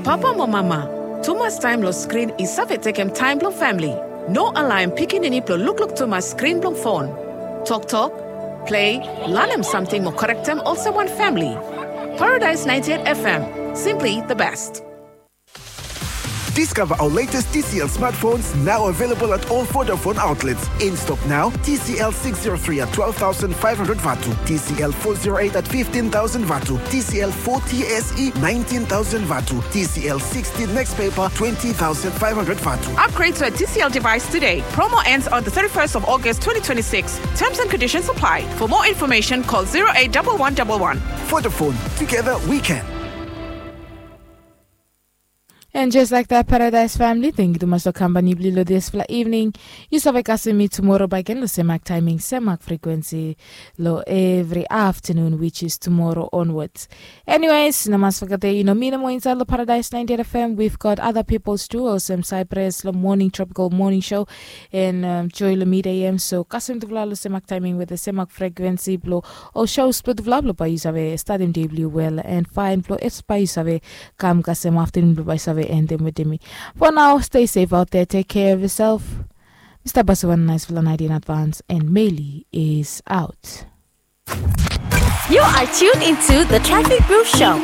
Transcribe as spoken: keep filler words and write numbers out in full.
Papa mo mama, tumas taem long skrin i save tekem taem blong famle. No alaem pikinini blong lukluk tumas skrin blong fon. Toktok, plei, lanem samting mo korektem olsem wan famle. Paradise ninety-eight F M, simply the best. Discover our latest T C L smartphones, now available at all Vodafone outlets. In stock now, T C L six zero three at twelve thousand five hundred vatu, T C L four zero eight at fifteen thousand vatu, T C L forty S E nineteen thousand vatu, T C L sixty next paper twenty thousand five hundred vatu. Upgrade to a T C L device today. Promo ends on the thirty-first of August twenty twenty-six. Terms and conditions apply. For more information, call zero eight double one double one. Vodafone, together we can. And just like that, Paradise family, thank you tumas long kampani blong yu long dispela evening. Yu save kasem mi tumora bakegen long semak taiming, semak frekuensi long evri aftanun, which is tomorrow onwards. Anyways, no mas fogetem, yu no mi nomo insait long Paradise ninety-eight F M. We've got other peoples too, olsem Cyprus long morning, tropical morning show, and um, Joy long mid A M. So kasem tufala long semak taiming with the semak frekuensi blong ol shows blong tufala blong bae yu save statem dei blong yu well and fine blong es bae yu save kam kasem aftanun blong bae yu save endem wetem mi. For now, stay safe out there, take care of yourself. Mr. Basuvan, nice for the night in advance, and Meli is out. You are tuned into the Traffic Booth Show.